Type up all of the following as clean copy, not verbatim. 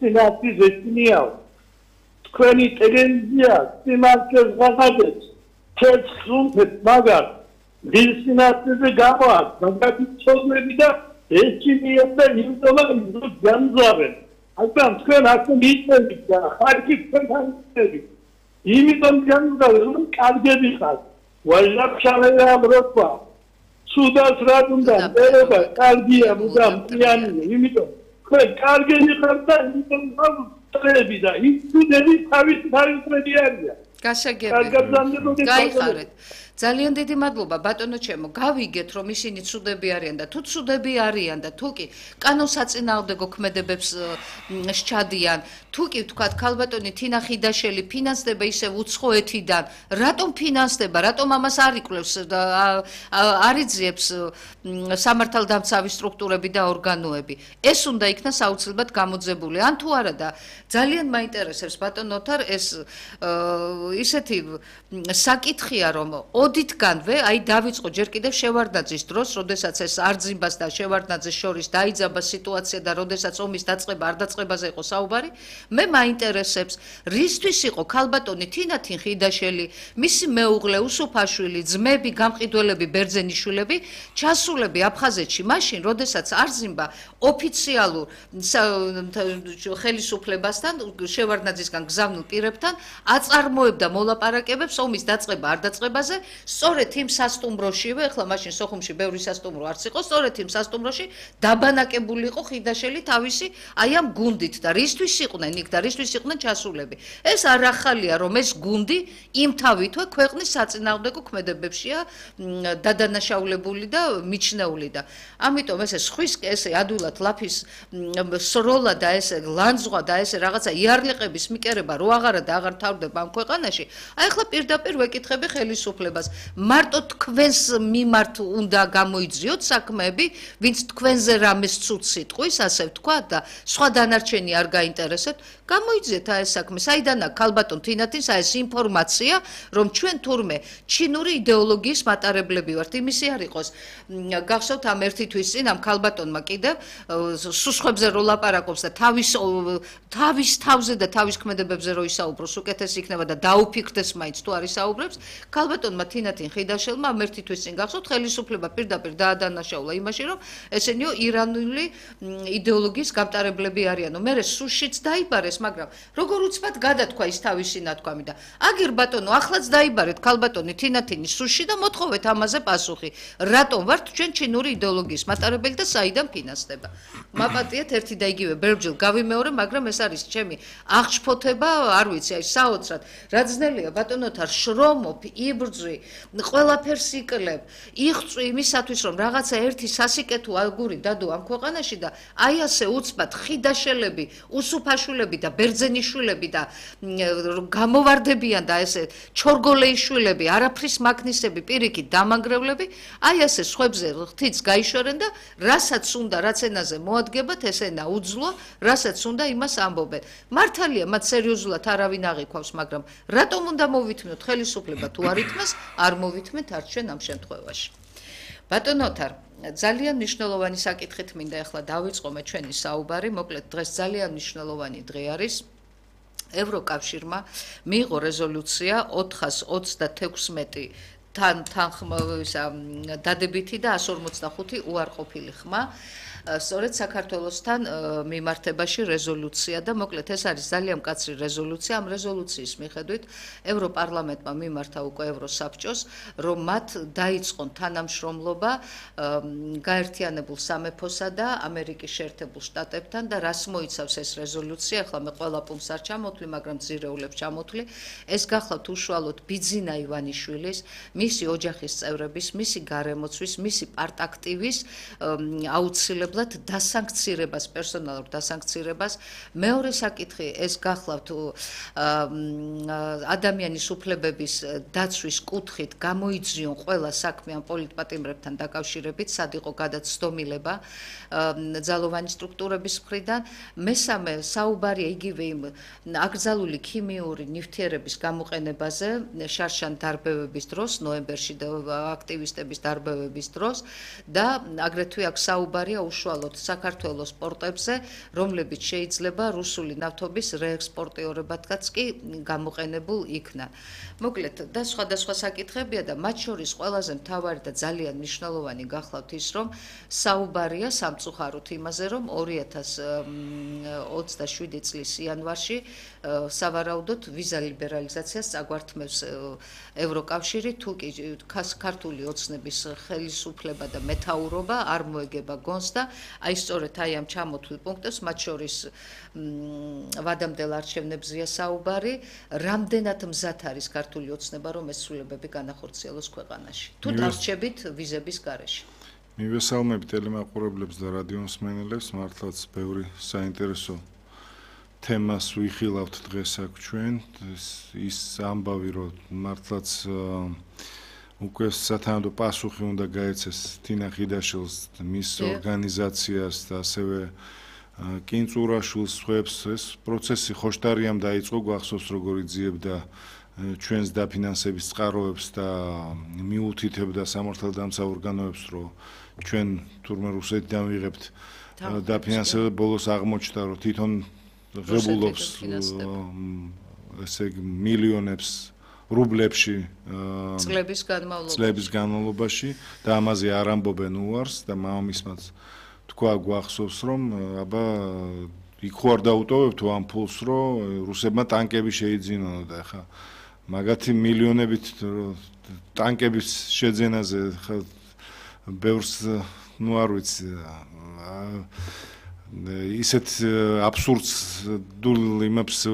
სინათლის ეცნიაო. თქვენი ტელევიზია სიმართლეს ვაღადებს. ცეცხლუნთებს მაგარ დილსინათლეზე გამოაქვს, მაგარი ცოდნები და ეჩინიებს და იმდომა განზავენ. Acum, când acum istoric, harki fantasic. İmidon canlıların kalbediği Vajab şalaya bırakma. Suda sıradından beraber kalbiye mudam yani imidon. Kalbediği kadar imidon var tabii da. Hiç su dedi tabii diğer ya. გასაგებია. გაიხარეთ. ძალიან დიდი მადლობა ბატონო ჩემო. გავიგეთ რომ ისინი ცუდები არიან და თუ ცუდები არიან და თუ კი კანონსაწინააღმდეგო ქმედებებს სჩადიან, თუ კი ვთქვათ ქალბატონი თინა ხიდაშელი ფინანსდება ისევ უცხოეთიდან, რატომ ფინანსდება, რატომ ამას არ იკვლევს და არ იძიებს სამართალდამცავი სტრუქტურები და ორგანოები. ეს უნდა იქნას აუცილებლად გამოძებული. ან თუ არა და ძალიან მაინტერესებს ბატონო ოთარ ეს ისეთი საკითხია რომ ოდითგანვე აი დავიწყო ჯერ კიდევ შევარდნაძის დროს, როდესაც ეს არძიმბას და შევარდნაძეს შორის დაიძაბა სიტუაცია და როდესაც ომის დაწყება არ დაწყებაზე იყო საუბარი, მე მაინტერესებს რისთვის იყო ქალბატონი თინათინ ხიდაშელი, მისი მეუღლე უსუფაშვილი, ძმები, გამყიდველები, ბერძენიშვილები ჩასულები აფხაზეთში მაშინ, როდესაც არძიმბა ოფიციალურ ხელისუფლებასთან, შევარდნაძისგან გზავნილ პირებთან აწარმოებდა მოლაპარაკებებს ომის დაწყება არ დაწყებაზე, სწორედ იმ სასტუმროშივე, ახლა მაშინ სოხუმში ბევრი სასტუმრო არც იყო, სწორედ იმ სასტუმროში დაბანაკებული იყო ხიდაშელი თავისი აი ამ გუნდით და რისთვის იყვნენ იქ და რისთვის იყვნენ ჩასულები. ეს არ ახალია, რომ ეს გუნდი იმთავითვე ქვეყნის საწინააღმდეგო ქმედებებშია დადანაშაულებული და მიჩნეული და ამიტომ ესე ხვის ესე ადვილად ლაფის სროლა და ესე ლანძღვა და ესე რაღაცა იარლიყების მიკერება რო აღარა და აღარ თავდება ამ ქვეყანაში, აი ახლა პირდაპირ ვეკითხები ხელისუფლებას. მარტო თქვენს მიმართ უნდა გამოიძიოთ საქმეები, ვინც თქვენზე რამეს ცუდ სიტყვის, ასე ვთქვა და სხვა დანარჩენი არ გაინტერესებთ, გამოიძიეთ ეს საქმე. საიდან აქვს ქალბატონ თინათინს ეს ინფორმაცია, რომ ჩვენ თურმე ჩინური იდეოლოგიის მატარებლები ვართ. იმისი არ იყოს. გახსოვთ ამ ერთი თვის წინ ამ ქალბატონმა კიდევ სუსხებზე რო ლაპარაკობს და თავის თავზე და თავის ქმედებებზე რო ისაუბროს, უკეთესი იქნება და დაუფიქრდეს მაინც თუ არ ისაუბრებს. ქალბატონმა თინათინ ხიდაშელმა ამ ერთი თვის წინ გახსოვთ ხელისუფლება პირდაპირ დაადანაშაულა იმაში, რომ ესენიო ირანული იდეოლოგიის გამტარებლები არიანო. მერე სუშიც დაიბარეს, მაგრამ როგორ უცბად გადათქვა ის თავისი ნათქვამი და აგერ ბატონო, ახლაც დაიბარეთ ქალბატონი თინათინის სუში და მოთხოვეთ ამაზე პასუხი. რატომ ვართ ჩვენ ჩინური იდეოლოგიის მატარებელი და საიდან ფინანსდება? მაპატიეთ ერთი და იგივე ბერბჯილ გავიმეორე, მაგრამ ეს არის ჩემი აღშფოთება, არ ვიცი, აი საოცრად. რა ძნელია ბატონოთარ შრომობ, იბრძვი, ყველაფერს იკლებ, იღწვი იმისათვის, რომ რაღაცა ერთი სასიკეთო აგური დადო ამ ქვეყანაში და აი ასე უცბად ხიდაშელები, უსუფაშვილები და ბერძენიშვილები და გამოვარდებიან და ესე ჩორგოლეიშვილები, არაფრის მაგნისები, პირიქით დამანგრევლები, აი ასე სხვებზე ღთიც გაიშორენ და რასაც უნდა, რაც ენაზე მოადგებათ, ეს ენა უძლო, რასაც უნდა იმას ამბობენ. მართალია, მათ სერიოზულად არავინ აღიქვავს, მაგრამ რატომ უნდა მოვითმოთ ხელისუფლება თუ არ ითმას, არ მოვითმეთ არც ჩვენ ამ შემთხვევაში. ბატონო ოთარ, ძალიან მნიშვნელოვანი საკითხით მინდა ახლა დავიწყომე ჩვენი საუბარი, მოკლედ დღეს ძალიან მნიშვნელოვანი დღე არის. ევროკავშირმა მიიღო რეზოლუცია 426 დადებითი და 145 უარყოფილი ხმა. სწორედ საქართველოსთან მიმართებაში რეზოლუცია და მოკლედ ეს არის ძალიან მკაცრი რეზოლუცია. ამ რეზოლუციის მიხედვით ევროპარლამენტმა მიმართა უკვე ევროსაბჭოს, რომ მათ დაიწყონ თანამშრომლობა გაერთიანებულ სამეფოსა და ამერიკის შეერთებულ შტატებთან და რას მოიცავს ეს რეზოლუცია, ახლა მე ყველა პუნქტს არ ჩამოთვლი, მაგრამ ძირეულებს ჩამოთვლი. ეს გახლავთ უშუალოდ ბიძინა ივანიშვილის, მისი ოჯახის წევრების, მისი გარემოცვის, მისი პარტაქტივის აუცილებლად დასანქცირებას, პერსონალურ დასანქცირებას. მეორე საკითხი ეს გახლავთ ადამიანის უფლებების დაცვის კუთხით გამოიძიონ ყველა საქმე ამ პოლიტპატიმრებთან დაკავშირებით, სად იყო გადაცდომილება ძალოვანი სტრუქტურების მხრიდან. მესამე საუბარია იგივე იმ აკრძალული ქიმიური ნივთიერების გამოყენებაზე შარშან დარბევების დროს, ნოემბერში და აქტივისტების დარბევების დროს და აგრეთვე აქ საუბარია უშუალოდ საქართველოს პორტებზე, რომლებიც შეიძლება რუსული ნავთობის რეექსპორტიორებადაც კი გამოყენებულ იქნა. მოკლედ, და სხვადასხვა საკითხებია და მათ შორის ყველაზე მთავარი და ძალიან მნიშვნელოვანი გახლავთ ის, რომ საუბარია სამწუხაროდ იმაზე, რომ 2027 წლის იანვარში სავარაუდოდ ვიზა ლიბერალიზაციას წაგვართმევს ევროკავშირი, თუ კი ქართული ოცნების ხელისუფლება და მეთაურობა არ მოეგება გონს და აი სწორედ აი ამ ჩამოთვლილ პუნქტებს, მათ შორის ვადამდელ არჩევნებზეა საუბარი, რამდენად მზად არის ქართული ოცნება, რომ ეს ცვლილებები განახორციელოს ქვეყანაში, თუ დარჩებით ვიზების გარეშე. მივესალმები ტელემაყურებლებს და რადიომსმენელებს, მართლაც ბევრი საინტერესო თემას ვიხილავთ დღეს აქ ჩვენ, ის ამბავი, რომ მართლაც უკვე სათანადო პასუხი უნდა გაეცეს თინა ხიდაშვილს, მის ორგანიზაციას და ასევე კინწურაშვილს, ხვებს, ეს პროცესი ხოშტარიამ დაიწყო, გვახსოვს როგორ იძიებდა ჩვენს დაფინანსების წყაროებს და მიუთითებდა სამართალდამცავ ორგანოებს, რომ ჩვენ თურმე რუსეთიდან ვიღებთ დაფინანსება, ბოლოს აღმოჩნდა, რომ თვითონ ღებულობს ესე იგი მილიონებს რუბლებში წლების განმავლობაში და ამაზე არ ამბობენ უარს და მამამისმაც თქვა გვახსოვს, რომ აბა იქ ხوار დაუტოვებთ ამ ფულს, რომ რუსებმა ტანკები შეიძინონ და ხა მაგათი მილიონებით ტანკების შეძენაზე ხა ბევრს ნუ არ ვიცი ისეთ აბსურდს დულ იმებს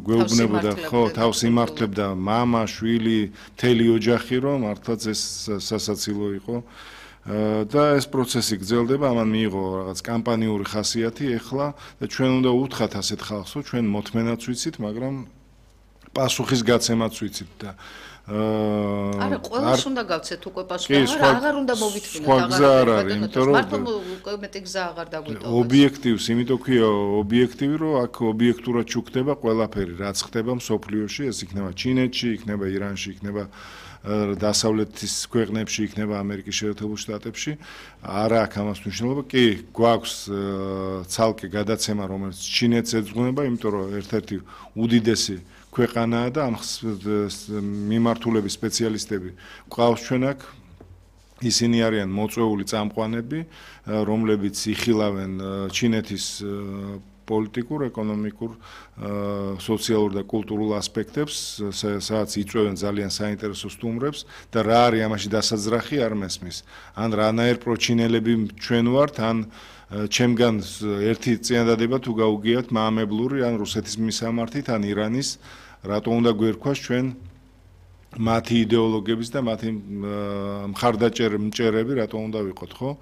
გვეუბნებოდა, ხო, თავს იმართლებდა მამა, შვილი, მთელი ოჯახი, რომ მართლაც ეს სასაცილო იყო და ეს პროცესი გრძელდება, ამან მიიღო რაღაც კამპანიური ხასიათი ეხლა და ჩვენ უნდა უთხრათ ასეთ ხალხს, რომ ჩვენ მოთმენაც ვიცით, მაგრამ პასუხის გაცემაც ვიცით და არა, ყველას უნდა გავცეთ უკვე პასუხი, აღარ უნდა მოვითმინოთ, აღარ არის, იმიტომ რომ მარტო მეტი გზა აღარ დაგვიტოვოს. ობიექტივს, იმიტომ ქვია ობიექტივი, რომ აქ ობიექტურად ჩუქდება ყველაფერი, რაც ხდება მსოფლიოში, ეს იქნება ჩინეთში, იქნება ირანში, იქნება დასავლეთის ქვეყნებში, იქნება ამერიკის შეერთებულ შტატებში. არა აქვს ამას მნიშვნელობა, კი, გვაქვს ცალკე გადაცემა, რომელიც ჩინეთს ეძღვნება, იმიტომ რომ ერთ-ერთი უდიდესი ქვეყანაა და ამ მიმართულების სპეციალისტები გვყავს ჩვენ აქ. ისინი არიან მოწვეული წამყვანები, რომლებიც იხილავენ ჩინეთის პოლიტიკურ, ეკონომიკურ, სოციალურ და კულტურულ ასპექტებს, სადაც იწვევენ ძალიან საინტერესო სტუმრებს და რა არის ამაში დასაძრახი არ მესმის. ან რანაირ პროჩინელები ჩვენ ვართ, ან ჩემგან ერთი წინადადება თუ გაუგიათ მაამებლური, ან რუსეთის მისამართით, ან ირანის, რატო უნდა გვერქვას ჩვენ მათი იდეოლოგების და მათი მხარდაჭერები რატო უნდა ვიყოთ, ხო?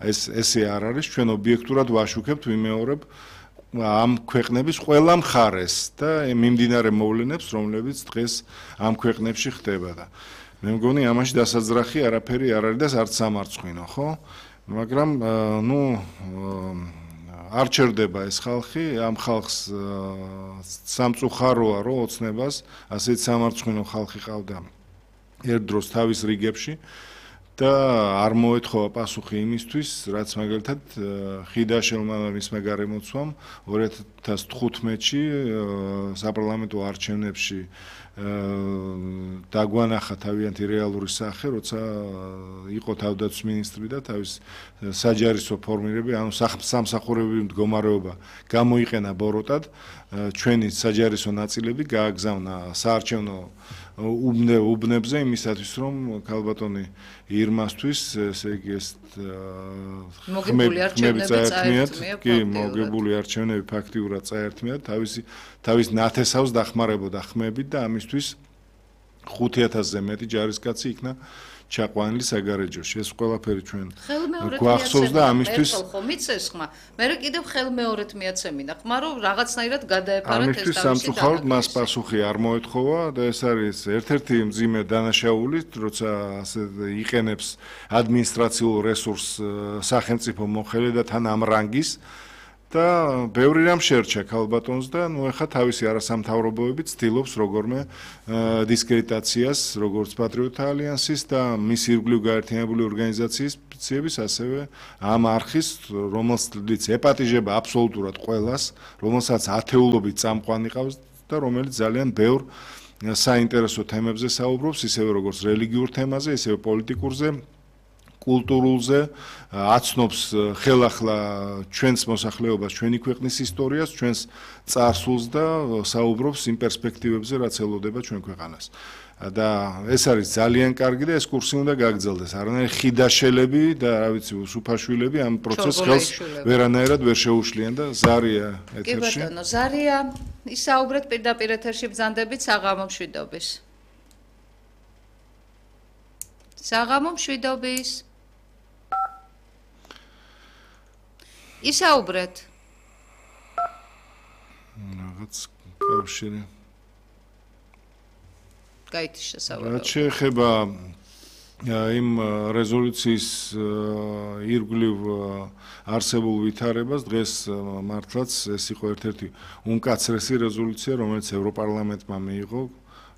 ესე არ არის, ჩვენ ობიექტურად ვაშუქებთ, ვიმეორებ ამ ქვეყნების ყველა მხარეს და მიმდინარე მოვლენებს, რომლებიც დღეს ამ ქვეყნებში ხდება და მე მგონი ამაში დასაძრახი არაფერი არ არის და არც სამარცხვინო, ხო? მაგრამ ნუ არ ჩერდება ეს ხალხი, ამ ხალხს სამწუხაროა, რომ ოცნებას ასეთ სამარცხვინო ხალხი ყავდა ერთ დროს თავის რიგებში და არ მოეთხოვა პასუხი იმისთვის, რაც მაგალითად ხიდაშვილმა მისმა გარემოცვამ 2015-ში საპარლამენტო არჩევნებში დაგვანახა თავიანთი რეალური სახე, როცა იყო თავდაცვის მინისტრი და თავის საჯარისო ფორმირები, ანუ სამსახურებრივი მდგომარეობა გამოიყენა ბოროტად, ჩვენი საჯარისო ნაწილები გააგზავნა საარჩევნო უბნებზე იმისათვის, რომ ქალბატონი ირმასთვის, ესე იგი ეს მოგებული არჩევნები ფაქტიურად წაერთმიათ, თავის ნათესავს დახმარებოდა ხმებით და ამისთვის 5000-ზე მეტი ჯარისკაცი იქნა ჩაყვანილი საგარეჯოში. ეს ყველაფერი ჩვენ გვახსოვს და ამისთვის ხომიცეს ხმა. მე კიდევ ხელმეორედ მიაცემინა ხმა, რომ რაღაცნაირად გადაეფარათ ეს ამისთვის სამწუხაროდ მას პასუხი არ მოეთხოვა და ეს არის ერთ-ერთი მძიმე დანაშაული, როცა ასე იყენებს ადმინისტრაციულ რესურსს სახელმწიფო მოხელე და თან ამ რანგის და ბევრი რამ შეერჩა ქალბატონს და ნუ ეხა თავისი არასამთავრობოები ცდილობს როგორმე დისკრედიტაციას როგორც პატრიოტთა ალიანსის და მის ირგვლივ გაერთიანებული ორგანიზაციების ასევე ამ არხის რომელსაც ეპატიჟება აბსოლუტურად ყველას რომელსაც ათეულობით წამყვანი ყავს და რომელიც ძალიან ბევრ საინტერესო თემებზე საუბრობს ისევე როგორც რელიგიურ თემაზე ისევე პოლიტიკურზე კულტურულზე აცნობს ხელახლა ჩვენს მოსახლეობას, ჩვენი ქვეყნის ისტორიას, ჩვენს წარსულს და საუბრობს იმ პერსპექტივებზე, რაც ელოდება ჩვენ ქვეყანას. და ეს არის ძალიან კარგი და ეს კურსი უნდა გაგრძელდეს. არანაირი ხიდაშელები და რა ვიცი, უსუფაშვილები ამ პროცესს ხელს ვერანაირად ვერ შეუშლიან და ზარია ეთერში. კი ბატონო, ზარია, ისაუბრეთ პირდაპირ ეთერში ბრძანდებით საღამო მშვიდობის. საღამო მშვიდობის. ისაუბრეთ. რაღაც კავშირი. გაითიშა საუბარი. რაც შეეხება იმ რეზოლუციის ირგვლივ არსებულ ვითარებას, დღეს მართლაც ეს იყო ერთ-ერთი უმკაცრესი რეზოლუცია, რომელიც ევროპარლამენტმა მიიღო.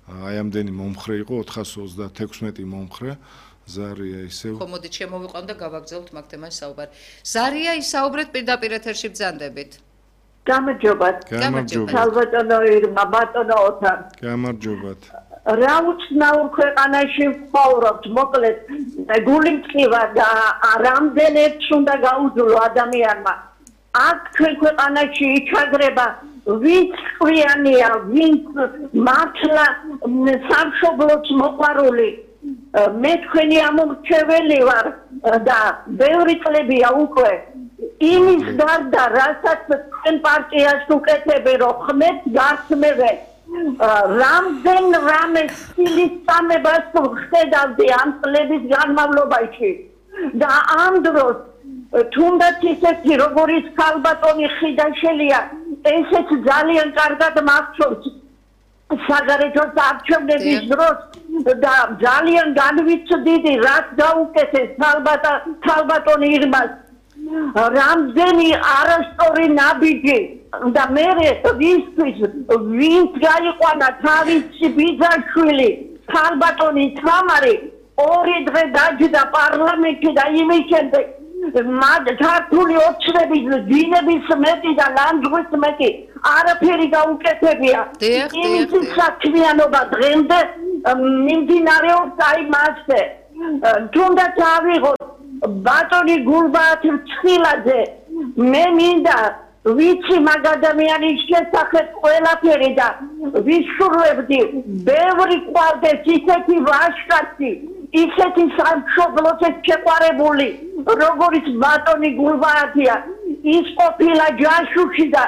აი ამდენი მომხრე იყო 436 მომხრე. ზარია ისევ. ხო, მოდით შემოვიყვან და გავაგრძელებთ მაგ თემას საუბარი. ზარია, ისაუბრეთ პირდაპირ ეთერში ბრძანდებით. გამარჯობათ. ქალბატონო ირმა, ბატონო ოთარ. გამარჯობათ. რა უცნაურ ქვეყანაში ვცხოვრობთ, მოკლედ გული მწყივა და რამდენიც უნდა გაუძლო ადამიანმა. აქ ჩვენ ქვეყანაში იჩაგრება ვინც ყვიანია, ვინც მართლა სამშობლოც მოყვარული. მე თქვენი ამომრჩეველი ვარ და ბევრი წლებია უკვე იმის გარდა, რასაც თქვენ პარტიას უკეთები, რომ ხმეთ გასმევე რამდენ რამე სილისწამებას ვხედავდი ამ წლების განმავლობაში და ამ დროს თუნდაც ისეთი როგორიც ქალბატონი ხიდაშელია ესეც ძალიან კარგად მახსოვს საგარეჯოს არჩევნების დროს და ძალიან განვიცდიდი რაც გაუკეთეს ქალბატონი ირმას რამდენი არასწორი ნაბიჯი და მე ვისთვის ვინც გაიყვანა თავისი ბიძაშვილი ქალბატონი თამარი ორი დღე დაჯდა პარლამენტში და იმის შემდეგ ქართული ოცნების დინების მეტი და ლანძღვის მეტი არაფერი გაუკეთებია იმის საქმიანობა დღემდე მიმდინარეობს აი მასზე თუნდაც ავიღოთ ბატონი გულბაათ ცხილაძე მე მინდა ვიცი მაგ ადამიანის შესახებ ყველაფერი და ვისურვებდი ბევრი ყავდეს ისეთი ვაჟკაცი ისეთი სამშობლოზე შეყვარებული როგორც ბატონი გულბაათია ის ყოფილა ჯაშუში და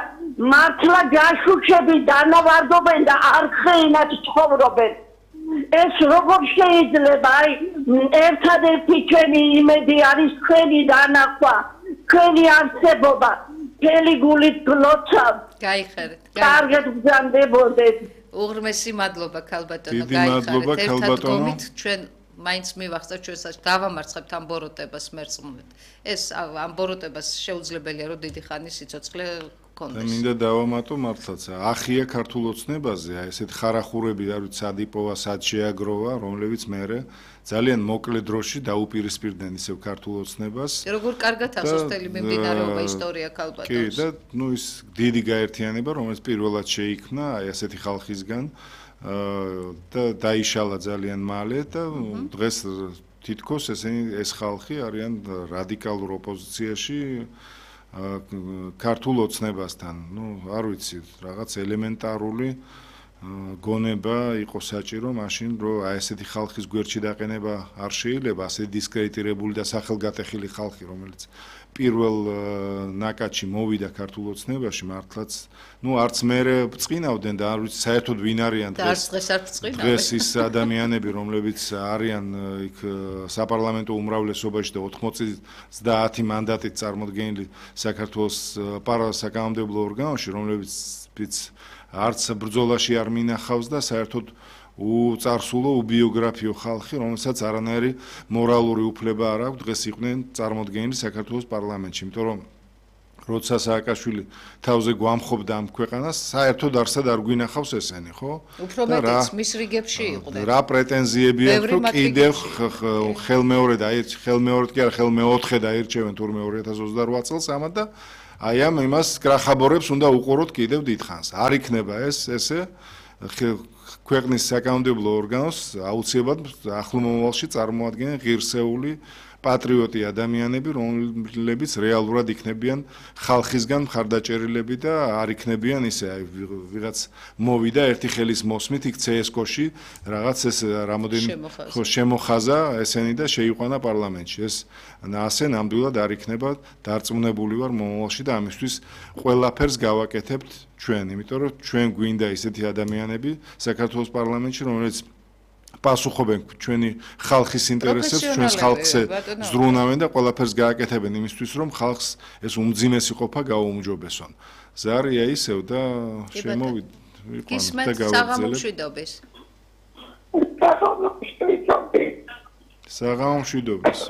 მართლა ჯაშუშები დანავარდობენ და არხეინად ცხოვრობენ ეს როგორ შეიძლება აი ერთადერთი ჩვენი იმედი არის თქვენი დანახვა თქვენი არსებობა მთელი გულით გლოცავ გაიხარეთ კარგად გზამდებოდეთ უღრმესი მადლობა ქალბატონო გაიხარეთ ერთად გომით ჩვენ მაინც მივახცევთ ჩვენსაც დავამარცხებთ ამ ბოროტებას მერწმუნეთ ეს ამ ბოროტებას შეუძლებელია რომ დიდი ხანი სიცოცხლე და მინდა დავამატო მართლაც ახია ქართულ ოცნებაზე აი ესეთ ხარახურები არ ვიცი სადიპოვა სად შეაგროვა რომლებიც მე ძალიან მოკლე დროში დაუპირისპირდნენ ისევ ქართულ ოცნებას როგორ კარგად ახსოვს მიმდინარეობა ისტორია ქალბატონს კი და ნუ ის დიდი გაერთიანება რომელიც პირველად შეიქმნა აი ასეთი ხალხისგან და დაიშალა ძალიან მალე და დღეს თითქოს ეს ხალხი არიან რადიკალურ ოპოზიციაში ქართულ ოცნებასთან. ნუ არ ვიცი, რაღაც ელემენტარული გონება იყო საჭირო მაშინ, რომ აი ესეთი ხალხის გვერდში დაყენება არ შეიძლება, ასე დისკრედიტირებული და სახელგატეხილი ხალხი, რომელიც პირველ ნაკადში მოვიდა ქართულ ოცნებაში, მართლაც, ნუ არც მე წინავდნენ და არ ვიცი საერთოდ ვინ არიან დღეს ის ადამიანები, რომლებიც არიან იქ საპარლამენტო უმრავლესობაში და 90 მანდატით წარმოდგენილი საქართველოს საკანონმდებლო ორგანოში, რომლებიც არც ბრძოლაში არ მინახავს და საერთოდ უწარსულო უბიოგრაფიო ხალხი, რომელსაც არანაირი მორალური უფლება არ აქვს დღეს იყვნენ წარმოდგენილი საქართველოს პარლამენტში, იმიტომ რომ როცა სააკაშვილი თავზე გვამხობდა ამ ქვეყანას, საერთოდ არსად არ გვინახავს ესენი, ხო? უფრო მეტიც მის რიგებში იყვნენ. რა პრეტენზიები აქვს, რომ კიდევ ხელმეორედ კი არა, ხელმეოთხე დაირჩევენ თურმე 2028 წელს ამათ და აი ამ იმას კრახაბორებს უნდა უყუროთ კიდევ დიდხანს. არ იქნება ესე ქვეყნის საკანონმდებლო ორგანოს აუცილებლად ახლო მომავალში წარმოადგენენ ღირსეული პატრიოტი ადამიანები, რომლებიც რეალურად იქნებიან ხალხისგან მხარდაჭერილები და არ იქნებიან ისე ვიღაც მოვიდა ერთი ხელის მოსმით იქ CSKO-ში რაღაც ეს რამოდენი შემოხაზა ესენი და შეიყვანა პარლამენტში. ეს ასე ნამდვილად არ იქნება დარწმუნებული ვარ მომავალში და ამისთვის ყველაფერს გავაკეთებთ ჩვენ, იმიტომ რომ ჩვენ გვინდა ისეთი ადამიანები საქართველოს პარლამენტში, რომლებიც პასუხობენ ჩვენი ხალხის ინტერესებს, ჩვენს ხალხზე ზრუნავენ და ყველაფერს გააკეთებენ იმისთვის, რომ ხალხს ეს უმძიმესი ყოფა გაუმჯობესონ. ზარია ისევ და გისმენთ საღამომშვიდობის. საღამომშვიდობის.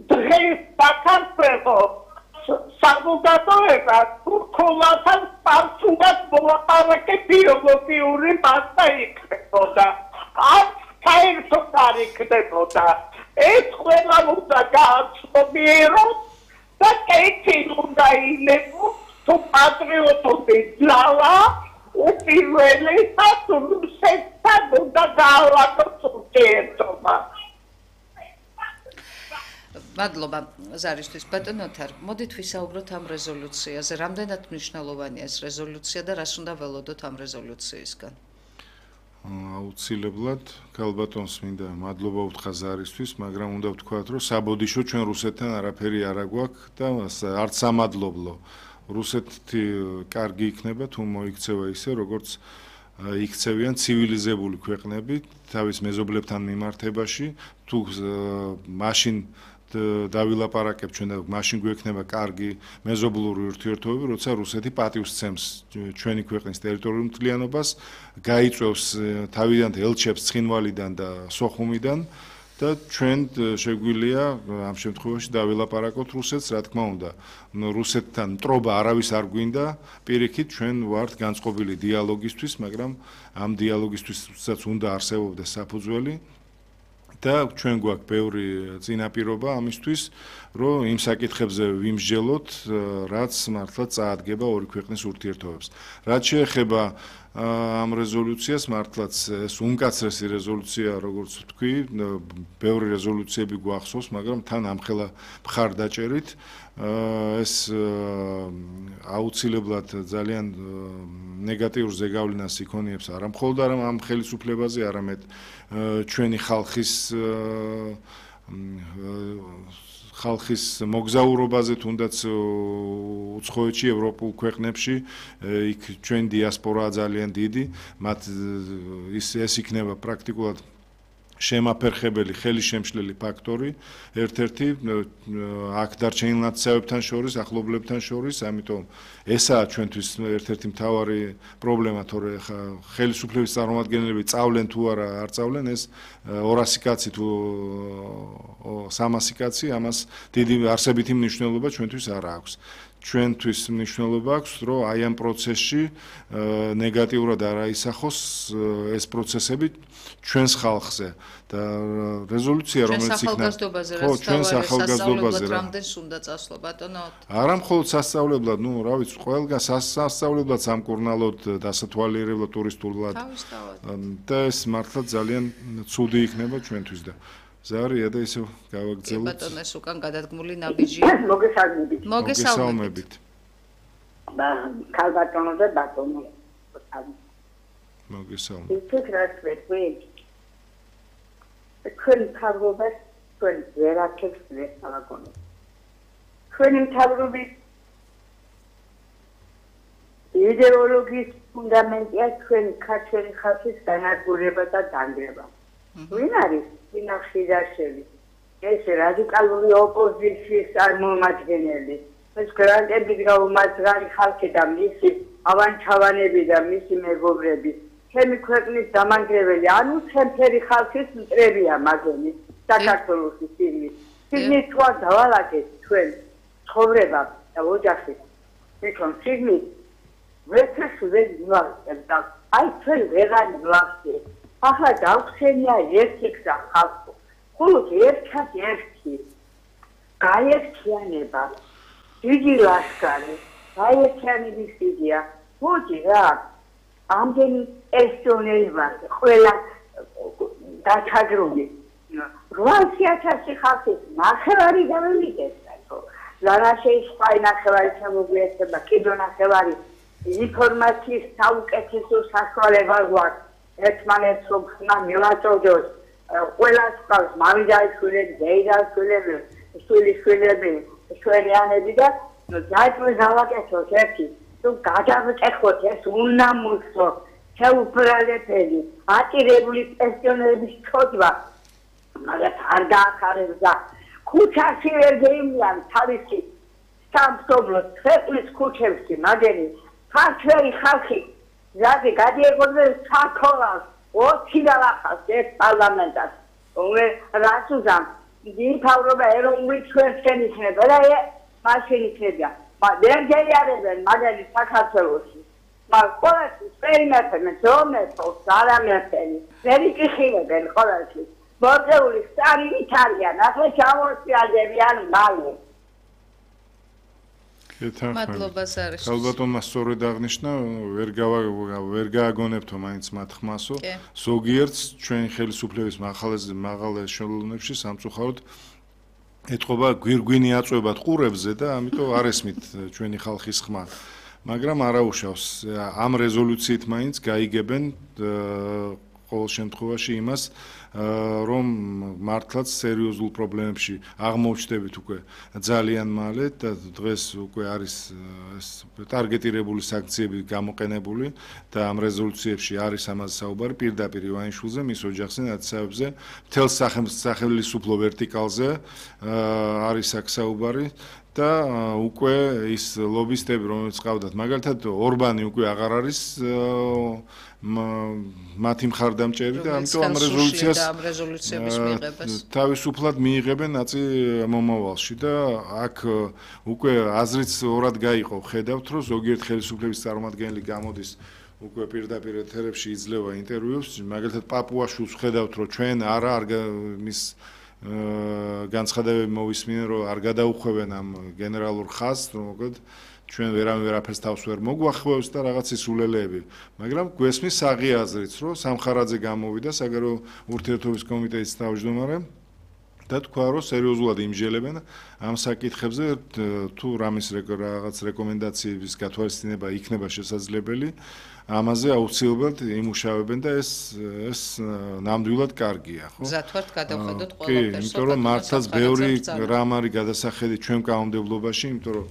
დღეს საქართველოს საზოგადოებას თურქულათან პარსულად მოლაპარაკე ბიოლოგიური მასა იქნებოდა. არც საერთოდ არ იქნებოდა. ეს ყველა უნდა გააცნობიეროს და კეთილ უნდა ილებოს თუ პატრიოტული ძალა უპირველესად რუსეთთან უნდა გაავადოს ურთიერთობა. მადლობა ზარისთვის ბატონო თარ. მოდით ვისაუბროთ ამ რეზოლუციაზე. რამდენად მნიშვნელოვანია ეს რეზოლუცია და რას უნდა ველოდოთ ამ რეზოლუციისგან? აუცილებლად ქალბატონს მინდა მადლობა უთხრა ზარისთვის, მაგრამ უნდა ვთქვათ, რომ საბოდიშო ჩვენ რუსეთთან არაფერი არ აგვაქვს და არც სამადლობლო. რუსეთი კარგი იქნება თუ მოიქცევა ისე, როგორც იქცევიან ცივილიზებული ქვეყნები თავის მეზობლებთან მიმართებაში, თუ მაშინ დავილაპარაკებთ ჩვენ და მაშინ გვექნება კარგი მეზობლური ურთიერთობები, როცა რუსეთი პატივს სცემს ჩვენი ქვეყნის ტერიტორიულ მთლიანობას, გაიწვევს თავიდან ელჩებს ცხინვალიდან და სოხუმიდან და ჩვენ შეგვიძლია ამ შემთხვევაში დავილაპარაკოთ რუსეთს, რა თქმა უნდა. რუსეთთან მტრობა არავის არ გვინდა, პირიქით ჩვენ ვართ განწყობილი დიალოგისთვის, მაგრამ ამ დიალოგისთვისაც უნდა არსებობდეს საფუძველი. და ჩვენ გვაქვს ბევრი წინაპირობა ამისთვის, რომ იმ საკითხებზე ვიმსჯელოთ, რაც მართლა წაადგება ორი ქვეყნის ურთიერთობებს. რაც შეეხება ამ რეზოლუციას, მართლაც ეს უმკაცრესი რეზოლუცია, როგორც ვთქვი, ბევრი რეზოლუციები გვახსოვს, მაგრამ თან ამხელა მხარდაჭერით ეს აუცილებლად ძალიან ნეგატიურ ზეგავლენას იქონიებს არა მხოლოდ ამ ხელისუფლებაზე, არამედ ჩვენი ხალხის მოგზაურობაზე, თუნდაც უცხოეთში, ევროპულ ქვეყნებში, იქ ჩვენი დიასპორაა ძალიან დიდი, მათ ეს იქნება პრაქტიკულად შემაფერხებელი ხელისშემშლელი ფაქტორი, ერთ-ერთი აქ დარჩენილ ნაცავებთან შორის, ახლობლებთან შორის, ამიტომ ესაა ჩვენთვის ერთ-ერთი მთავარი პრობლემა, თორე ხელისუფლების წარმომადგენლები წავლენ თუ არა, არ წავლენ, ეს 200 კაცი თუ 300 კაცი, ამას დიდი არსებითი მნიშვნელობა ჩვენთვის არ აქვს. ჩვენთვის მნიშვნელობა აქვს, რომ აი ამ პროცესში ნეგატიურად არ აისახოს ეს პროცესები ჩვენს ხალხზე და რეზოლუცია რომელიც იქნება ჩვენს ახალგაზრდობაზე რამდენს უნდა წასვლა ბატონო? არა მხოლოდ სასწავლებლად, რა ვიცი, ყველგან სასწავლებლად, სამკურნალოდ, დასათვალიერებლად, ტურისტულად და ეს მართლა ძალიან ცუდი იქნება ჩვენთვის და ზარია და ისევ გავაგრძელოთ. ბატონო, ეს უკან გადადგმული ნაბიჯია. მოგესალმებით. ქალბატონო და ბატონო. მოგესალმებით. ფიქრობთ ვეთქვი. ჩვენ თავრობას ჩვენ ვერაფერს ვერ გავაკონებთ. ჩვენი თავრობის იდეოლოგიის ფუნდამენტია ჩვენი ქართველი ხალხის განადგურება და დანგრევა. ვინ არის ფინანსირებელი? ეს რადიკალური ოპოზიციის წარმომადგენელი. ეს გრანტებით გაუმარჯვარი ხალხი და მისი ავანჩავანები და მისი მეგობრები. ჩემი ქვეყნის დამანგრეველი, ანუ ჩემფერი ხალხის მტრებია მაგენი. საქართველოსი სიგნით. სიგნით თქვა დავალაგეთ ჩვენ ცხოვრება და ოჯახი. თვითონ სიგნით ვეცეშუდენ ვილახეთ და აი ჩვენ ვეღარ ვილახეთ. ახლა დავხსენია ერთი გზა ხალხო. მხოლოდ ერთად-ერთი გაერთიანება, დიდი ლაშქარი, გაერთიანების იდეა. მოდი რა, ამდენი პენსიონერი ვართ, ყველა დაჩაგრული. 800,000 ხალხის ნახევარი გამოვიდეს. ლარაშეის სხვა ნახევარი შემოგვიერთება, კიდო ნახევარი ინფორმაციის საუკეთესო საშუალება გვაქვს. ერთმანეთს რომ ხმა მივაწოდოს, ყველას ყავს მამიდაიშვილები, დეიდაშვილები, შვილიშვილები, შვენიანები და დაიწყო გავაკეთოთ ერთი, რომ გადავკეთოთ ეს უნამუსო, შეუბრალებელი, ატირებული პენსიონერების ჩოდვა. მაგრამ არ დაახარებდა. ქუჩაში ვერ გეიმიან თავისი სამშობლოს ქვეყნის ქუჩებში, მაგერი ქართველი ხალხი ზადი გადიეგოდნენ საქონლს 20 დალახავს ეს პარლამენტად. რას უზამ? იმთავრობა ეროვნული ჩვენს იქნება და მაშინ იქნება. ვერ გეიარებენ მაგარი საქართველოში. მაგრამ ყოველთვის პერიმეტრში ზომეთოს არამეთენი. ვერ იკიხილებენ ყოველთვის. მოწეული სტალინით არიან, ახლა ჩამოწიალდებიან მალე. მადლობა სარიშ. ალბათონმა სწორედ აღნიშნა, ვერ გააგონებთო მაინც მათ ხმასო. ზოგიერთს ჩვენ ხელისუფლების მაღალ ეშელონებში სამწუხაროდ ეთყობა გვირგვინი აწვევათ ყურებზე და ამიტომ არ ესმით ჩვენი ხალხის ხმა. მაგრამ არაუშავს ამ რეზოლუციით მაინც გაიგებენ ყოველ შემთხვევაში იმას რომ მართლაც სერიოზულ პრობლემებში აღმოჩნდებით უკვე ძალიან მალე და დღეს უკვე არის ეს ტარგეტირებული სანქციები გამოყენებული და ამ რეზოლუციებში არის ამაზე საუბარი პირდაპირ ივანიშვილზე, მის ოჯახზე, ნაცნობებზე, მთელ სახელმწიფო ვერტიკალზე არის აქ საუბარი და უკვე ის ლობისტები რომელიც ყავდათ მაგალითად ორბანი უკვე აღარ არის მათი მხარდამჭერი და ამიტომ ამ რეზოლუციების მიღებას თავისუფლად მიიღებენ ნაწილ მომავალში და აქ უკვე აზრიც ორად გაიყო ხედავთ რომ ზოგიერთ ხელისუფლების წარმომადგენელი გამოდის უკვე პირდაპირ ეთერებში იძლევა ინტერვიუს მაგალითად პაპუაშვილს ხედავთ რომ ჩვენ არ მის განცხადებები მოვისმინენ რომ არ გადაუხვევენ ამ გენერალურ ხაზს რომ მოკლედ ჩვენ ვერაფერს თავს ვერ მოგვახვევს და რაღაც სულელეები მაგრამ გვესმის საღი აზრიც რომ სამხარაძე გამოვიდა საგარეო ურთიერთობის კომიტეტის თავმჯდომარე და თქვა რომ სერიოზულად იმჯელებენ ამ საკითხებზე თუ რამის რაღაც რეკომენდაციების გათვალისწინება იქნება შესაძლებელი ამაზე აუცილებლად იმუშავებენ და ეს ნამდვილად კარგია, ხო? მზად გადავხედოთ ყველაფერს. იმიტომ რომ მართლაც ბევრი რამ არის გადასახედი ჩვენ კანონმდებლობაში, იმიტომ რომ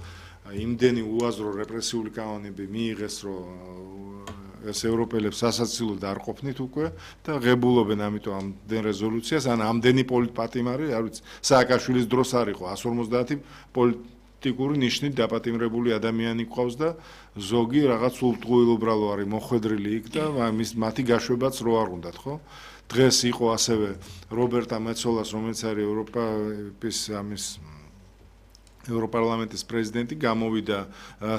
იმდენი უაზრო რეპრესიული კანონები მიიღეს, რომ ეს ევროპელებს სასაცილოდ არ ყოფნით უკვე და ღებულობენ ამიტომ ამდენ რეზოლუციას, ან ამდენი პოლიტპატიმარი, არ ვიცი, სააკაშვილის დროს არ იყო 150 პოლიტიკური ნიშნით დაპატიმრებული ადამიანი ყავს და ზოგი რაღაც ულტყუილუბრალო არის მოხვედრილი იქ და მათი გაშვებაც რო არ უნდათ, ხო? დღეს იყო ასევე რობერტა მეცოლას, რომელიც არის ევროპარლამენტის პრეზიდენტი, გამოვიდა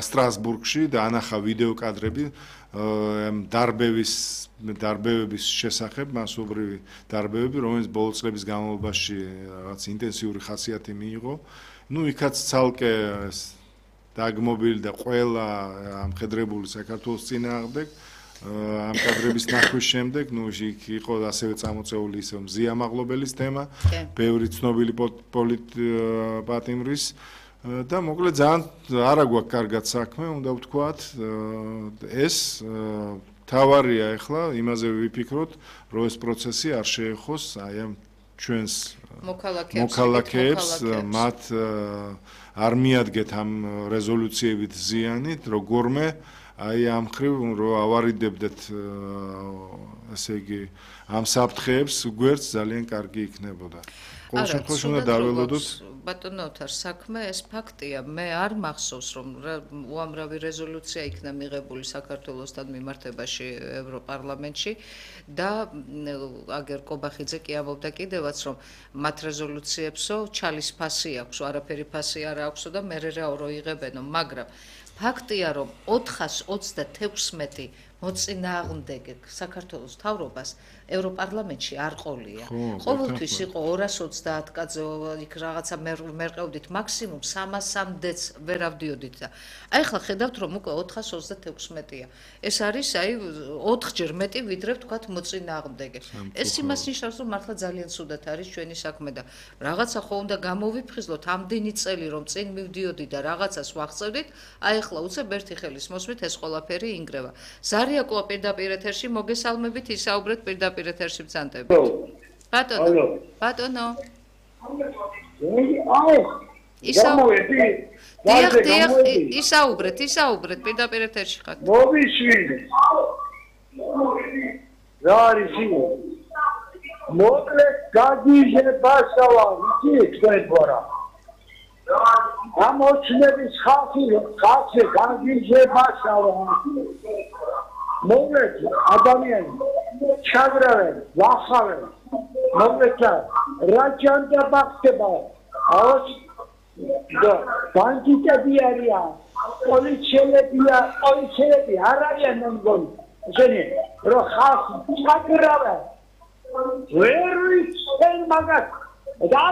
სტრასბურგში და ანახა ვიდეო კადრები დარბევების შესახებ, მასობრივი დარბევები, რომელიც ბოლო წლების განმავლობაში რაღაც ინტენსიური ხასიათი მიიღო. ნუ იქაც ცალკე დაგმობილი და ყველა ამხედრებული საქართველოს წინააღმდეგ ამ კადრების ნახვის შემდეგ, ნუ იქ იყო ასევე წამოწეული ისე მზიამაღლობელის თემა, ბევრი ცნობილი პოლიტპატიმრის და მოკლედ ძალიან არა გვაქვს კარგად საქმე, უნდა ვთქვათ, ეს თავარია ახლა იმაზე ვიფიქროთ, რომ ეს პროცესი არ შეეხოს აი ამ ჩვენს მოქალაქეებს მათ არ მიადგეთ ამ რეზოლუციებით ზიანით როგორმე აი ამ ხრივ რომ ავარიდებდეთ ესე იგი ამ საფრთხეებს გვერდს ძალიან კარგი იქნებოდა ყოველ შემთხვევაში უნდა დაველოდოთ ბატონო ოთარ საქმე ეს ფაქტია მე არ მახსოვს რომ უამრავი რეზოლუცია იქნა მიღებული საქართველოსთან მიმართებაში ევროპარლამენტში და აგერ კობახიძე კი ამბობდა კიდევაც რომ მათ რეზოლუციებსო ჩალის ფასი აქვს არაფერი ფასი არ აქვსო და მე რაო იღებენო მაგრამ ფაქტია რომ 426 მოწინააღმდეგე საქართველოს მთავრობას ევროპარლამენტში არ ყოლია. ყოველთვის იყო 230 კაცი იქ რაღაცა მერყევდით მაქსიმუმ 300-მდეც ვერ ავდიოდით და აი ახლა ხედავთ რომ უკვე 426-ია. ეს არის აი 4-ჯერ მეტი ვიდრე ვთქვათ მოწინააღმდეგე. ეს იმას ნიშნავს რომ მართლა ძალიან ცუდად არის ჩვენი საქმე და რაღაცა ხო უნდა გამოვიფხიზლოთ ამდენი წელი რომ წინ მივდიოდი და რაღაცას ვახცევდით, აი ახლა უცებ ერთი ხელის მოსმით ეს ყველაფერი ინგრევა. ზარიაკოა პირდაპირ ეთერში მოგესალმებით ისაუბრეთ პირდაპირ ეთერში ბრძანდებით. ბატონო. ისაუბრეთ პირდაპირ ეთერში ხართ. მოვიშვიდე. რა არის ის? მოკლედ გაგიჟებასალა, იცით თქვენბორა. ამოჩნების ხალხი გაგიჟებასალა. მოკლედ ადამიანი ჩაგრავენ, ვახავენ. მოკლედ რა ჯანდა ბახტება? აუც და ბანკიტები არიან, პოლიციელები არ არიან მოგონი. ესენი რო ხალხი ჩაგრავენ. ვერ ვიცენ მაგას და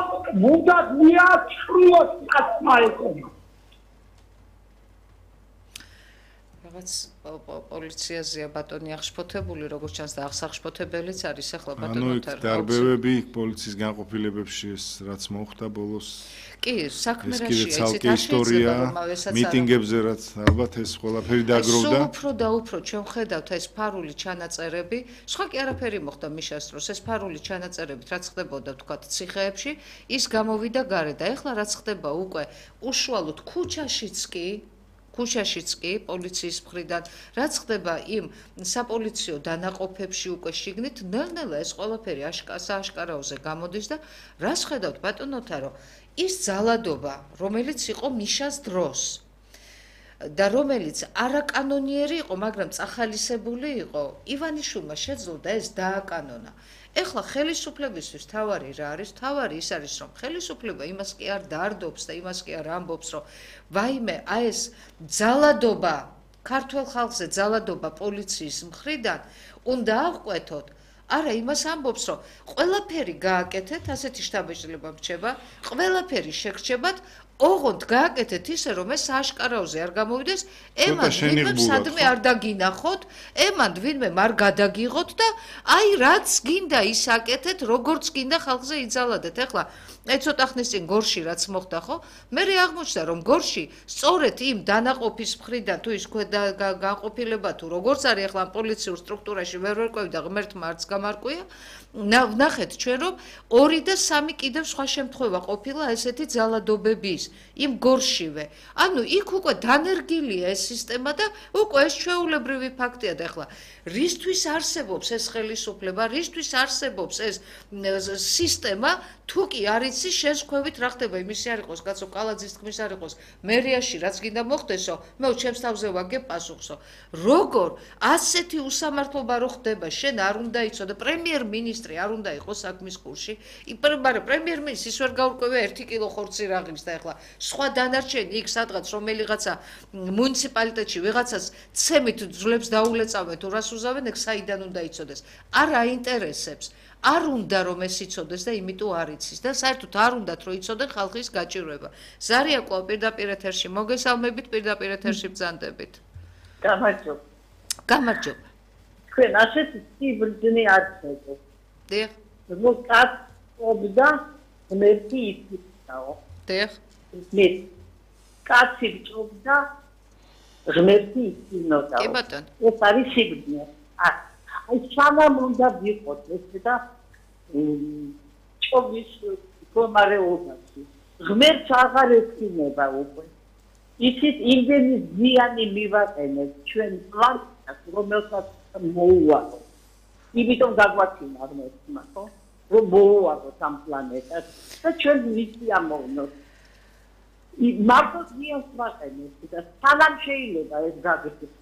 მუდად მიაჩრიოთ ასმაეთები. რაღაც პოლიციაზეა ბატონი აღშფოთებული, როგორც ჩანს და აღსახშფოთებელიც არის ახლა ბატონო თარ. ანუ დარბევები პოლიციის განყოფილებებში ეს რაც მოხდა ბოლოს. კი, საქმე რაშია, იცით ისტორია, მიტინგებზე რაც ალბათ ეს ყველაფერი დაგროვდა. სულ უფრო და უფრო ჩვენ ხედავთ ეს ფარული ჩანაწერები, სხვა კი არაფერი მოხდა მიშას დროს, ეს ფარული ჩანაწერებით რაც ხდებოდა ვთქვათ ციხეებში, ის გამოვიდა გარეთ და ეხლა რაც ხდება უკვე უშუალოდ ქუჩაშიც კი პოლიციის მხრიდან რაც ხდება იმ საპოლიციო დანაყოფებში უკვე შიგნით ნელ-ნელა ეს ყველაფერი სააშკარაოზე გამოდის და რას ხედავთ ბატონოთა რომ ის ძალადობა რომელიც იყო მიშას დროს და რომელიც არაკანონიერი იყო მაგრამ წახალისებული იყო ივანიშვილმა შეძლო და ეს დააკანონა ეხლა ხელისუფლებისთვის თავარი რა არის? თავარი ის არის, რომ ხელისუფლება იმას კი არ დაარდობს და იმას კი არ ამბობს, რომ ვაიმე, აი ეს ძალადობა, ქართულ ხალხზე ძალადობა პოლიციის მხრიდან უნდა აღკვეთოთ. არა, იმას ამბობს, რომ ყველაფერი გააკეთეთ, ასეთი შთაბეჭდილება რჩება, ყველაფერი შეგრჩებათ, ოღონდ გააკეთეთ ისე, რომ ეს სააშკარაოზე არ გამოვიდეს, ემან ვინმე სადმე არ დაგინახოთ, ემან ვინმე არ გადაგიღოთ და აი რაც გინდა ის აკეთეთ, როგორც გინდა ხალხზე იძალადეთ. ეხლა აი ცოტა ხნის წინ გორში რაც მოხდა ხო? მე აღმოჩნდა რომ გორში სწორედ იმ დანაყოფის მხრიდან თუ ის გაყოფილება თუ როგორც არის ახლა პოლიციურ სტრუქტურაში ვერ ვერკვევი და ღმერთმა არც გამარკვია ვნახეთ ჩვენ რომ 2 და 3 კიდევ სხვა შემთხვევა ყოფილა ესეთი ძალადობების იმ გორშივე. ანუ იქ უკვე დანერგილია ეს სისტემა და უკვე ეს ჩვეულებრივი ფაქტია და ახლა რისთვის არსებობს ეს ხელისუფლება, რისთვის არსებობს ეს სისტემა, თუ კი არ იცი შეზღვევით რა ხდება, იმისი არ იყოს, კაცო, კალაძის თქმის არ იყოს, მერიაში რაც გინდა მოხდესო, მე ჩემს თავზე ვაგებ პასუხსო. როგორ ასეთი უსამართლობა რო ხდება, შენ არ უნდა იცოდე, პრემიერ-მინისტრი არ უნდა იყოს საქმის კურსში, მაგრამ პრემიერ-მინისტრი ის ვერ გაურკვევია 1 კილო ხორცი რაღის და ახლა სხვა დანარჩენი იქ სადღაც რომელიღაცა მუნიციპალიტეტში ვიღაცას ცემით ძლებს დაულეწავენ თუ რას უზავენ, ეგ საიდან უნდა იცოდეს. არ აინტერესებს. არ უნდა რომ ეს იცოდეს და იმიტომ არ იცის და საერთოდ არ უნდათ რომ იცოდე ხალხის გაჭირვება. ზარიაკო პირდაპირ ეთერში მოგესალმებით, პირდაპირ ეთერში ბრძანდებით. გამარჯობა. გამარჯობა. თქვენ ასეთი სიბრძნე არ ხედავთ. დიახ. მოკაც ობდა მერტი იფიცაო. დიახ. მე კაცი ჭობდა ღმერთი იცინოდა. კი ბატონო. ეს არის სიბრძნე. აი სანამ უნდა ვიყოთ ეს და ჭობის მდგომარეობაში. ღმერთს აღარ ექნება უკვე. იცით იმდენი ზიანი მივაყენეთ ჩვენ პლანეტას, რომელსაც მოუვაროთ. იმიტომ გაგვაჩინა ღმერთმა, ხო? რომ მოუვაგოთ ამ პლანეტას და ჩვენ მისია მოვნოთ. მარტო ზიანს ვაყენებთ და სანამ შეიძლება ეს გაგრძელდეს.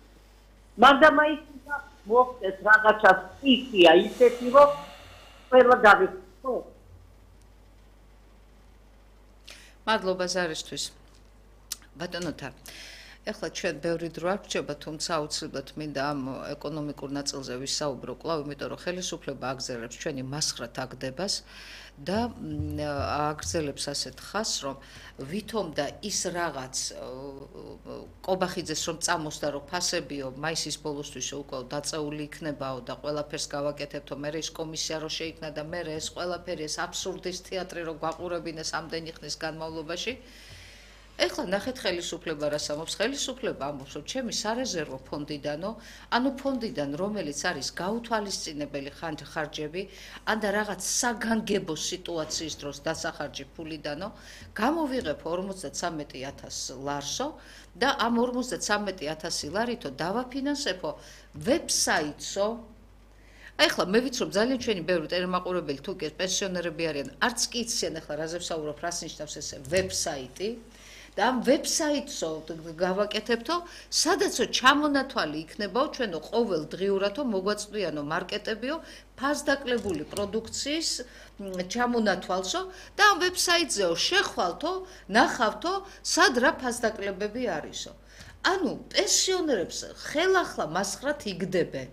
მაგრამ მაინც მოხდეს რაღაცა ისია ისეთი რომ ყველა გავიქცო. მადლობა ზარისთვის. ბატონოთა, ეხლა ჩვენ ბევრი დრო არ გრჩება, თუმცა აუცილებლად მინდა ამ ეკონომიკურ ნაწილზე ვისაუბრო კვლავ, იმიტომ რომ ხელისუფლება აგრძელებს ჩვენი მასხრად აგდებას და აგრძელებს ასეთ ხაზს, რომ ვითომ და ის რაღაც კობახიძეს რომ წამოსდა, რომ ფასებიო მაისის ბოლოსთვის უკვე დაწეული იქნებაო და ყველაფერს გავაკეთებთო, მე ეს კომისია რო შეიქმნა და მე ეს ყველაფერი ეს აბსურდის თეატრი რო გვაყურებინეს ამდენი ხნის განმავლობაში. ეხლა ნახეთ ხელისუფლება რას ამბობს. ხელისუფლება ამბობს, რომ ჩემი სარეზერვო ფონდიდანო, ანუ ფონდიდან, რომელიც არის გაუთვალისწინებელი ხარჯები, ან და რაღაც საგანგებო სიტუაციის დროს დასახარჯი ფულიდანო, გამოვიღებ 53,000 ლარსო და ამ 53,000 ლარითო დავაფინანსებო ვებსაიტსო. ეხლა მე ვიცი რომ ძალიან ჩვენი ბევრი ტელემაყურებელი თუ კი პენსიონერები არიან, არც კი იციან ეხლა რაზე ვსაუბრობ, რას ნიშნავს ეს ვებსაიტი. და ამ ვებსაიტსო გავაკეთებთო, სადაცო ჩამონათვალი იქნებაო ჩვენო ყოველ დღიურათო მოგვაწვდიანო მარკეტებიო ფასდაკლებული პროდუქციის ჩამონათვალსო და ამ ვებსაიტზეო შეხვალთო, ნახავთო, სად რა ფასდაკლებები არისო. ანუ პენსიონერებს ხელახლა მასხრად იგდებენ.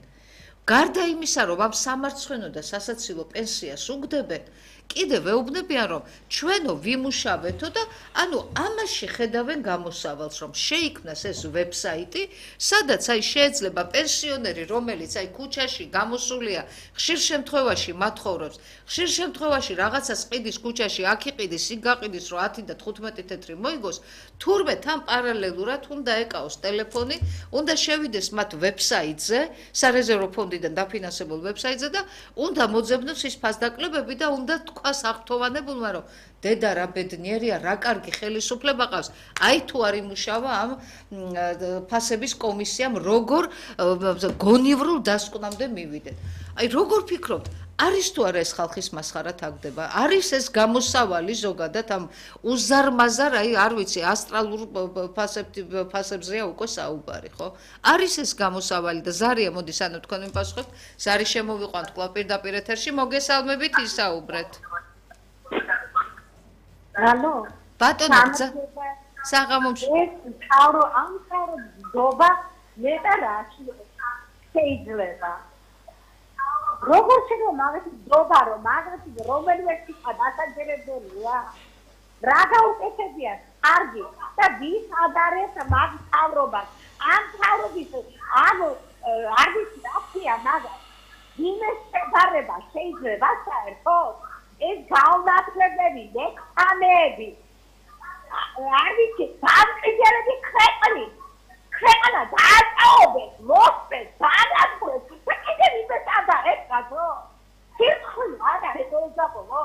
გარდა იმისა, რომ ამ სამარცხვინო და სასაცილო პენსიას უგდებენ, კიდევ ეუბნებიან, რომ ჩვენო ვიმუშავეთო და ანუ ამაში ხედავენ გამოსავალს, რომ შეიქმნას ეს ვებსაიტი, სადაც აი შეიძლება პენსიონერი, რომელიც აი ქუჩაში გამოსულია, ხშირ შემთხვევაში მათხოვრობს, ხშირ შემთხვევაში რაღაცას ყიდის ქუჩაში, აქ იყიდის, იქ გაყიდის, რომ 10 და 15 თეთრი მოიგოს, თურმე თან პარალელურად უნდა ეკაოს ტელეფონი, უნდა შევიდეს მათ ვებსაიტზე, სარეზერვო ფონდიდან დაფინანსებულ ვებსაიტზე და უნდა მოძებნოს ის ფასდაკლებები და უნდა თქვას აღთოვანებულმა, რომ დედა რა ბედნიერია, რა კარგი ხელისუფლება ყავს. აი თუ არ იმუშავა ამ ფასების კომისიამ, როგორ გონივრულ დასკვნამდე მივიდეთ. აი როგორ ფიქრობთ, არის თუ არა ეს ხალხის მასხარად აგდება? არის ეს გამოსავალი ზოგადად ამ უზარმაზარ, აი არ ვიცი, ასტრალურ ფასებზეა უკვე საუბარი, ხო? არის ეს გამოსავალი და ზარია, მოდის ანუ თქვენ მიპასუხებთ, ზარი შემოვიყვანთ კვლავ პირდაპირ ეთერში, მოგესალმებით, ისაუბრეთ. ალო, ბატონო, საღამომში. ეს თავრო ამ თავრო დობა მეტა რაში შეიძლება. როგორ შეიძლება მაგათი დობა რომ მაგათი რომელიმე სიტყვა დასაჯერებელია? რა გაუკეთებია? კარგი და ვის ადარებს მაგ თავრობას? ამ თავრობის ანუ არ ვიცი რა ქვია მაგას. იმეს შედარება შეიძლება საერთოდ? ეს გაუნათლებები, ლექსანები. არ ვიცი, დამყიდელები ქვეყანა დააწაობეს, მოსპეს, დაანაცვლეს, და კიდევ იმეს ადარებსო. სირცხული არ არის ეზაპოვო.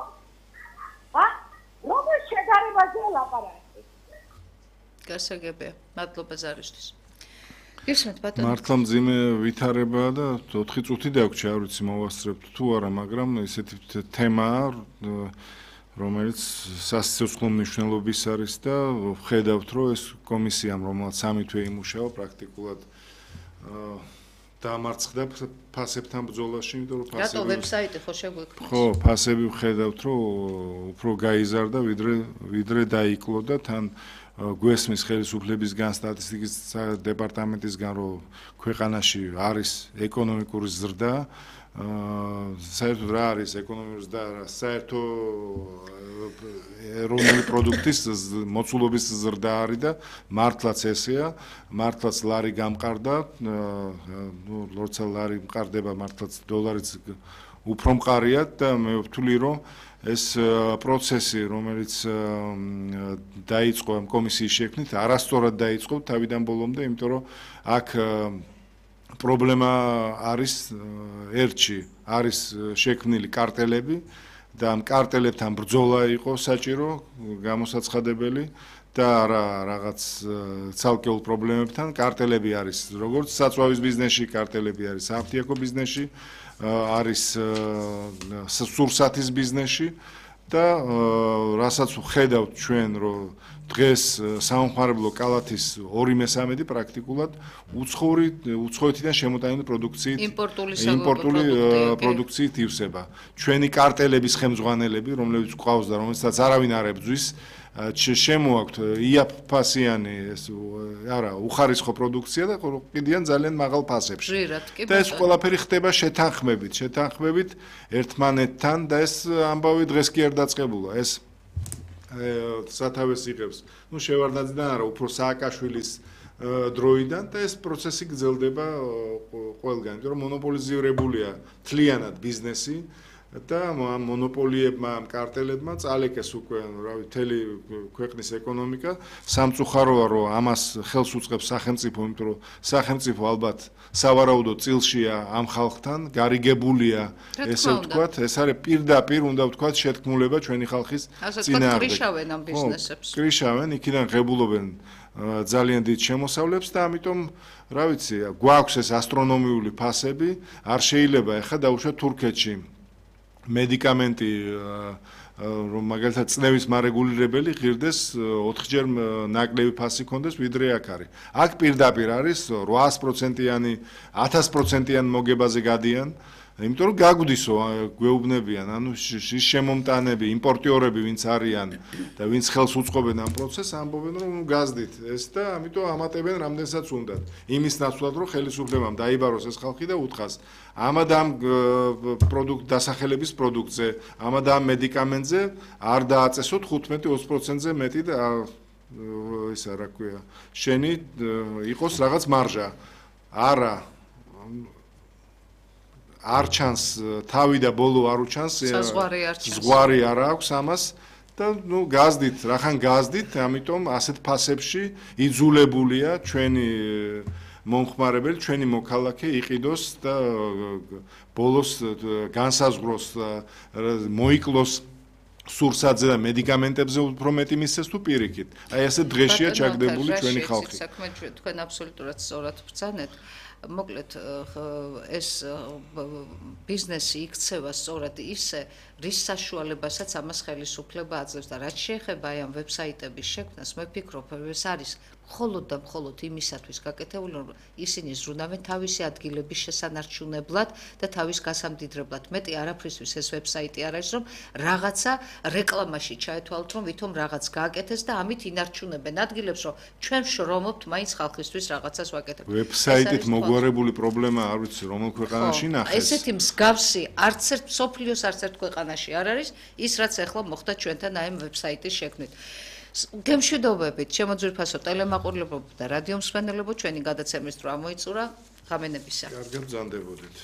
როგორ შედარებაზე ლაპარაკი? გასაგებია, მადლობა ზარისთვის. გისმენთ ბატონო. მართლა მძიმე ვითარებაა და 4 წუთი დაგვჭირდა, არ ვიცი მოვასწრებთ თუ არა, მაგრამ ესეთი თემაა, რომელიც სასიცოცხლო მნიშვნელობის არის და ვხედავთ, რომ ეს კომისიამ, რომელიც 3 თვე იმუშავა, პრაქტიკულად დამარცხდა ფასებთან ბრძოლაში, იმიტომ რომ რატო ვებსაიტი ხო შეგვექმნეს? ხო, ფასები ვხედავთ, რომ უფრო გაიზარდა, ვიდრე დაიკლო და თან გვესმის ხელისუფლებისგან, სტატისტიკის დეპარტამენტისგან, რომ ქვეყანაში არის ეკონომიკური ზრდა, საერთოდ რა არის ეკონომიკური ზრდა, საერთო ეროვნული პროდუქტის მოცულობის ზრდა არის და მართლაც ესეა, მართლაც ლარი გამყარდა, როცა ლარი მყარდება, მართლაც დოლარიც უფრო მყარია და მე ვთვლი, რომ ეს პროცესი, რომელიც დაიწყო ამ კომისიის შექმნით, არასწორად დაიწყო თავიდან ბოლომდე, იმიტომ რომ აქ პრობლემა არის ერთში, არის შექმნილი კარტელები და ამ კარტელებთან ბრძოლა იყო საჭირო, გამოსაცხადებელი და არა რაღაც ცალკეულ პრობლემებთან. კარტელები არის როგორც საწვავის ბიზნესში, კარტელები არის საფთიაქო ბიზნესში, არის სურსათის ბიზნესში და რასაც ვხედავთ ჩვენ, რომ დღეს სამხმარებლო კალათის 2/3 პრაქტიკულად უცხოეთიდან შემოტანილი პროდუქციით იმპორტული პროდუქციით ივსება. ჩვენი კარტელების ხელმძღვანელები, რომლებიც გვყავს და რომელსაც არავინ არ ებძვის, შემოაქვთ იაფფასიანი უხარისხო პროდუქცია და ყიდიან ძალიან მაღალ ფასებში. და ეს ყველაფერი ხდება შეთანხმებით ერთმანეთთან და ეს ამბავი დღეს კი არ დაწყებულა. ეს სათავეს იღებს შევარდნაძიდან არა, უფრო სააკაშვილის დროიდან და ეს პროცესი გრძელდება ყველგან, იმიტომ რომ მონოპოლიზირებულია თლიანად ბიზნესი და მონოპოლიებმა, კარტელებმა წალეკეს უკვე, მთელი ქვეყნის ეკონომიკა. სამწუხაროა, რომ ამას ხელს უწყობს სახელმწიფო, იმიტომ რომ სახელმწიფო ალბათ სავარაუდო წილშია ამ ხალხთან, გარიგებულია, ესე ვთქვათ, ეს არის პირდაპირ, უნდა ვთქვათ, შეთქმულება ჩვენი ხალხის წინააღმდეგ. კრიშავენ ამ ბიზნესებს. კრიშავენ, იქიდან ღებულობენ ძალიან დიდ შემოსავლებს და ამიტომ, რა ვიცი, გვაქვს ეს ასტრონომიული ფასები, არ შეიძლება ახლა დავუშვათ თურქეთში მედიკამენტი რომ მაგალითად წნევის მარეგულირებელი ღირდეს 4-ჯერ ნაკლები ფასი ქონდეს ვიდრე აქ არის. აქ პირდაპირ არის 800%-იანი, 1000%-იან მოგებაზე გადიან, იმიტომ რომ გაგვდისო გვეუბნებიან, ანუ ის შემომტანები, იმპორტიორები ვინც არიან და ვინც ხელს უწყობენ ამ პროცესს, ამბობენ რომ გაზდით ეს და ამიტომ ამატებენ რამდენსაც უნდათ. იმის ნაცვლად რომ ხელისუფლებამ დაიბაროს ეს ხალხი და უთხრას ამადამ დასახელების პროდუქტზე, ამადამ მედიკამენტზე არ დააწესოთ 15-20%-ზე მეტი და ისა რა ქვია, შენი იყოს რაღაც მარჟა. არა არ ჩანს თავი და ბოლო არ უჩანს, ზღვარი არ აქვს ამას და გაზდით, რახან გაზდით, ამიტომ ასეთ ფასებში იძულებულია ჩვენი მომხმარებელი, ჩვენი მოქალაქე იყიდოს და ბოლოს განსაზღვროს მოიკლოს სურსათზე და მედიკამენტებზე უფრო მეტი მისცეს თუ პირიქით. აი ასე დღეშია ჩაგდებული ჩვენი ხალხი. საქმე თქვენ აბსოლუტურად სწორად ბრძანეთ. მოკლედ ეს ბიზნესი იქცევა სწორად ისე, რის საშუალებასაც ამას ხელისუფლება აძლევს და რაც შეეხება აი ამ ვებსაიტების შექმნას, მე ვფიქრობ, ეს არის მხოლოდ და მხოლოდ იმისათვის გაკეთებული, რომ ისინი ზრუნავენ თავისი ადგილების შესანარჩუნებლად და თავის გასამდიდრებლად. მეტი არაფრისთვის ეს ვებსაიტი არ არის, რომ რაღაცა რეკლამაში ჩაეთვალოთ, რომ ვითომ რაღაც გააკეთეს და ამით ინარჩუნებენ ადგილებს, რომ ჩვენ შრომობთ მაინც ხალხისთვის რაღაცას ვაკეთებთ. ვებსაიტით მოგვარებული პრობლემა არ ვიცი, რომელ ქვეყანაში ნახეს. ესეთი მსგავსი არც ერთ სოფლიოს არც ერთ ქვეყანაში არ არის ის, რაც ახლა მოხდა ჩვენთან აი ამ ვებსაიტის შექმნით. გემშვიდობებით, შემოძვირფასო ტელემაყურებლებო და რადიო მსმენელებო, ჩვენი გადაცემის დრო ამოიწურა. ღამენებისა. კარგად ბრძანდებოდით.